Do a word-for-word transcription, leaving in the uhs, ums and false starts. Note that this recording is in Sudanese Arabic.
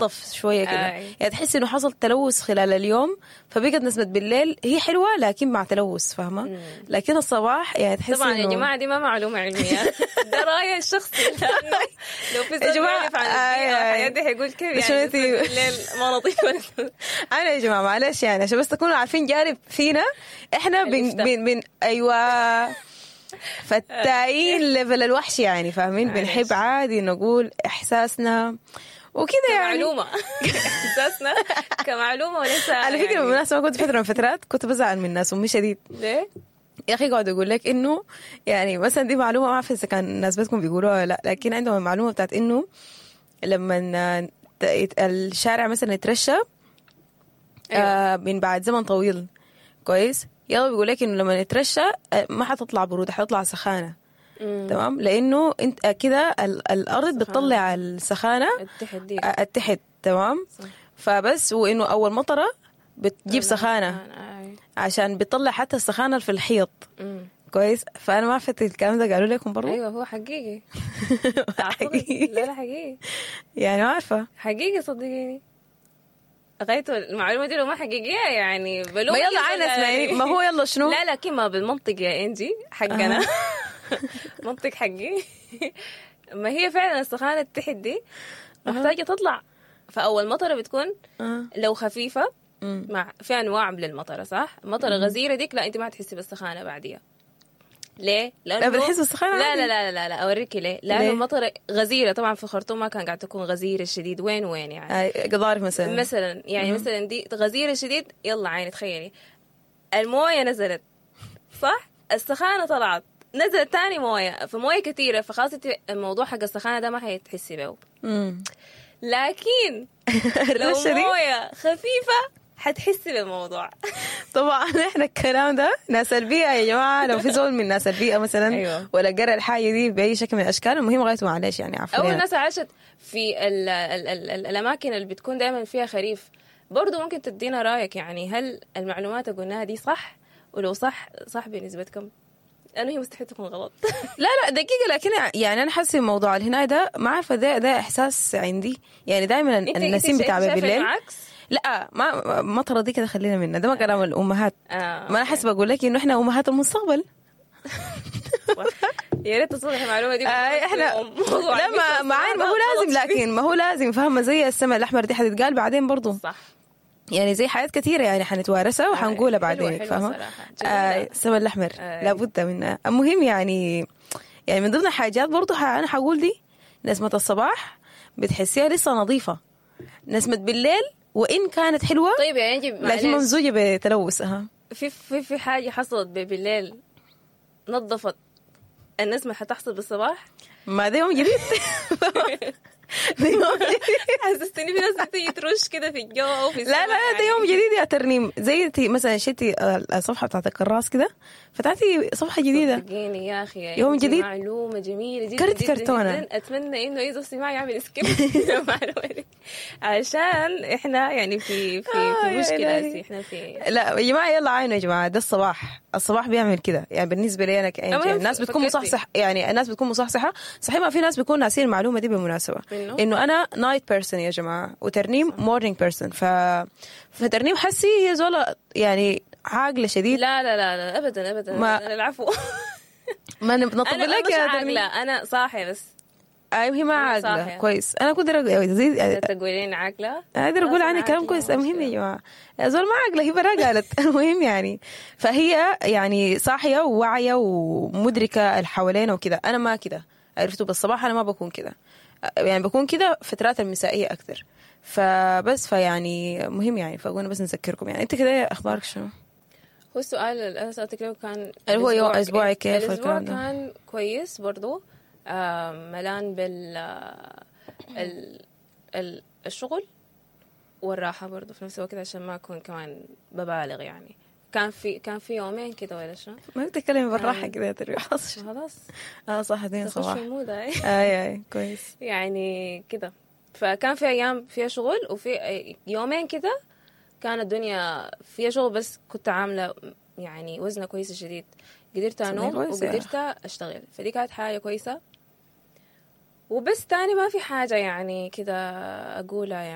انضف شوية كده. آي. يعني تحس انه حصل تلوث خلال اليوم، فبقت نسمة بالليل هي حلوة لكن مع تلوث، فاهمه؟ لكن الصباح يعني تحس طبعا يا إنه- جماعة دي ما معلومة علميه، ده رايي الشخصي، لانه لو في يا زول جماعة، بيعرف عن آي، البيئة آي. والحاجات دي حيقول كيف شو يعني انتي؟ نسمة بالليل ما نظيفه؟ انا يا جماعة معلش، يعني عشان بس تكونوا عارفين جانب فينا احنا بن الإفتاء. بن بن ايوه، فتاين level الوحش يعني، فاهمين؟ معلش. بنحب عادي نقول احساسنا وكده يعني. معلومه، احساسنا كمعلومه وليس على فكره، يعني بالمناسبه، كنت فترة من فترات كنت بزعل من الناس امي شديد. ليه؟ يا اخي يقعد يقول لك انه يعني مثلا دي معلومه، ما اعرف اذا كان الناس بتكون بيقولوها ولا لا، لكن عندهم المعلومة بتاعت انه لما ت- الشارع مثلا يترشى أيوة. آه من بعد زمن طويل، كويس؟ يلا بيقول لك انه لما يترشى آه، ما حتطلع برودة، حتطلع سخانه. مم. تمام؟ لانه انت آه، كده ال- الارض بتطلع السخانه التحت دي. آه، التحت، تمام؟ صح. فبس وانه اول مطره بتجيب سخانه آي. عشان بتطلع حتى السخانه في الحيط. مم. كويس؟ فانا ما عرفت الكلام ده قالوا لكم برضه؟ ايوه، هو حقيقي. حقيقي؟ لا لا، حقيقي. يعني ما عارفه. حقيقي، صدقيني. غايته المعلومة دي لو ما حقيقية يعني بلوم ما يلا عاينة، اسمعيني، ما هو يلا شنو؟ لا، لكن ما بالمنطق يا انجي حقنا، منطق حقي، ما هي فعلا السخانه التحت دي محتاجه تطلع، فاول مطره بتكون آه. لو خفيفة مم. مع في انواع للمطره، صح؟ مطره غزيرة ديك لا، انت ما تحسي بالسخانه بعديها. ليه؟ لانه لا، بتحس بالسخانة لا. عادي. لا لا لا لا، اوريكي ليه. لانه ليه؟ المطره غزيرة طبعا في الخرطوم ما كان قاعد تكون غزيرة شديد وين وين يعني. آه، قضارف مثلا. مثلا يعني مثلا دي غزيرة شديد، يلا عيني تخيلي المويه نزلت، صح؟ السخانه طلعت، نزلت تاني مويه، فمويه كثيره، فخلاص انت الموضوع حق السخانه ده ما حتحسي به. مم. لكن لو الرشة دي مويه خفيفة حتحسي بالموضوع. طبعا احنا الكلام ده ناس البيئة يا جماعه، لو في زول من ناس البيئة مثلا أيوة. ولا قرا الحاجة دي باي شكل من الاشكال، المهم غايته معلش يعني عفوا. او لنا. الناس عاشت في ال ال ال ال الاماكن اللي بتكون دائما فيها خريف برضو ممكن تدينا رايك، يعني هل المعلومات اللي قلناها دي صح؟ ولو صح، صح بنسبة كم؟ لانه هي مستحيل تكون غلط. لا لا، دقيقه، لكن يعني انا حاسه موضوع الهناي ده، ما عارفه، ده ده احساس عندي، يعني دائما انت النسيم بتاع شايفة بالليل. إنه عكس؟ لا، ما مطره دي كده خلينا منها، ده ما كلام الامهات. آه ما انا حاسه بقول لك انه احنا امهات المستقبل. يا ريت تصلح المعلومة دي. آه احنا موضوع لا، ما ما ما هو لازم، لكن ما هو لازم، فاهمه؟ زي السماء الاحمر دي حتتقال بعدين برضو. صح. يعني زي حاجات كثيرة يعني حنتوارثها وحنقولها حلوة- بعدين. حلوة فاهمه؟ صراحة. آه جميلة. السماء الاحمر. آه. لابد منها. المهم يعني يعني من ضمن الحاجات برضو ح- انا حقول دي نسمة الصباح بتحسيها لسه نظيفة، نسمة بالليل وإن كانت حلوة طيب يا انجي لكن معلش. ممزوجة بتلوث ها. في في في حاجة حصلت ب- بالليل نظفت النسمه حتحصل بالصباح؟ ما ده يوم جديد، ده يوم جديد. حسستني في ناس بتيجي ترش كده في الجو او في لا لا السما. ده يوم جديد يا ترنيم، زي انت مثلا شلتي الصفحة بتاعت الكراس كده، فتحتي صفحة جديدة. صدقيني يا اخي يا يوم إنجي، جديد. معلومة جميلة جدا كرت جدا كرتونة. جدا. اتمنى انه اي زول سمع يعمل skip المعلومة دي عشان احنا يعني في في آه، في يا مشكلة إلهي. هسي، احنا في لا يا جماعه، يلا عينوا يا جماعه، ده الصباح، الصباح بيعمل كده يعني. بالنسبة لي انا كأنجي المهم يعني الناس بتكون فكرتي. مصحصح، يعني الناس بتكون مصحصحه صحيح، ما في ناس بيكون ناسين المعلومة دي بالمناسبه. إنه؟ انه انا night person يا جماعة وترنيم morning person، ف فترنيم حسي هي زولا يعني عاقلة شديد. لا لا لا لا، ابدا ابدا. ما- انا العفو. ما نطبق انا لك مش يا ترنيم. عاقله، انا صاحية بس. ايوه، هي ما أنا عاقله. صاحية. كويس، انا كنت زي تقولين عاقله. اقدر اقول خلاص عنها أنا كلام عاقلة، كويس. ما المهم يا مشكلة. جماعه، يا زول ما عاقله، هي برا قالت. المهم يعني فهي يعني صاحية وواعيه ومدركه اللي حوالينا وكده، انا ما كده، عرفتوا؟ بالصباح انا ما بكون كده، يعني بكون كده فترات المسائيه اكثر، فبس فيعني مهم يعني، فقلنا بس نذكركم يعني. انت كده اخبارك شنو؟ هو السؤال اللي انا سالتك له كان اللي هو يوم الأسبوع أسبوعي كيف الاسبوع والكلام ده. كان كويس برضو، آه، ملان بال ال ال الشغل والراحة برضو في نفس الوقت، عشان ما أكون كمان ببالغ يعني. كان في كان في يومين كده ولا شنو؟ ما بتتكلمي بالراحة كده يا تري، حصل؟ خلاص. اه صح، اتنين تخش صباح. في ال mood هاي. اي اي، كويس. يعني كده، فكان في ايام فيها شغل وفي يومين كده كانت الدنيا فيها شغل، بس كنت عامله يعني وزنه كويسة شديد، قدرت انوم كويس يا وقدرت اشتغل، فدي كانت حاجة كويسه. وبس، تاني ما في حاجة يعني كده اقولها يعني.